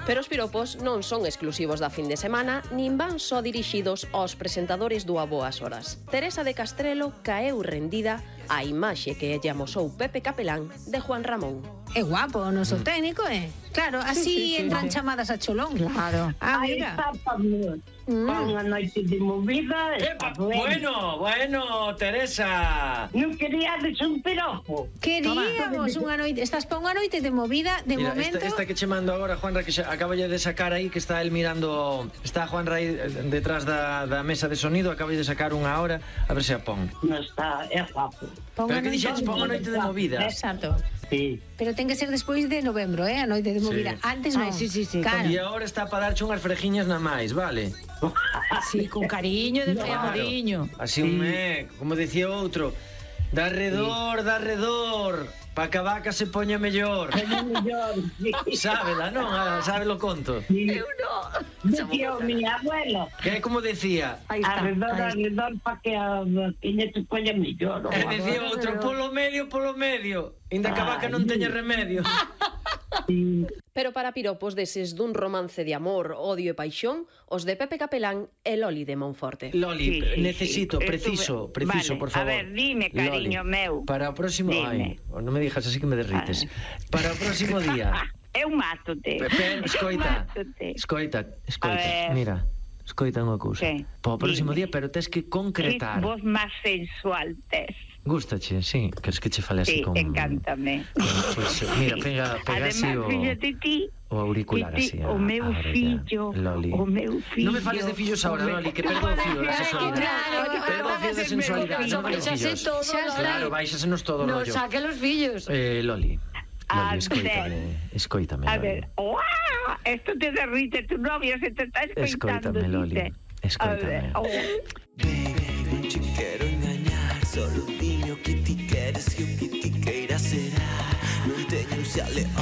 Pero os piropos non son exclusivos da fin de semana, nin van só dirixidos aos presentadores do A Boas Horas. Teresa de Castrelo caeu rendida á imaxe que lle amosou Pepe Capelán de Juan Ramón. É guapo o noso técnico, Claro, así entran chamadas a cholón. Claro. Aí está unha noite de movida. Bueno, Teresa. Non queríades un piropo? Queríamos unha noite. Estás pa unha noite de movida, de Mira, momento. esta que che mando agora, Juanra, que acaba de sacar aí, que está él mirando. Está Juanra aí detrás da mesa de sonido, acaba de sacar unha hora, a ver se a pon. Non está, é guapo. Pero que dixetes, pon a noite de movida. Exacto. Sí. Pero ten que ser despois de novembro, a noite de movida. Sí. Antes non. Sí. Claro. E agora está para darche unhas frejiñas na máis, vale? Sí, con cariño, de amoriño. Así como decía outro, da redor, pa que a vaca se poña mellor. Sábela, non? Sábelo conto. Eu non. Decía o mi abuelo. Que é como decía? Arredor, pa que a vaquiña se poña mellor. E decía outro, polo medio. Inda que a vaca non teña remedio. Pero para piropos deses dun romance de amor, odio e paixón, os de Pepe Capelán e Loli de Monforte. Loli, necesito, preciso, vale, por favor. A ver, dime, cariño meu. Para o próximo... Dime. Ai, non me dixas así que me derrites. Para o próximo día... Eu mátote. Escoita, mira, escoita unha cousa. Para o próximo día, pero tes que concretar. Que voz máis sensual tes. Gústache, sí, queres que che fale así con... Sí, encántame. Pues, mira, pega así o... Fíjate ti, o auricular así. O meu fillo, Loli. o meu fillo. Non me fales de fillos ahora, Loli, que perdo o fío da sexualidade. Perdo o fío da sensualidade, non me fillos. Claro, baixasenos todo o rollo. No saque los fillos. Loli, escoítame. A ver, esto te derrite, tu novia se te está escoitando. Escoítame, Loli, escoítame. Baby, non te quero engañar, solo dime o que ti queres e o que ti queiras será. Non teño un xe a león.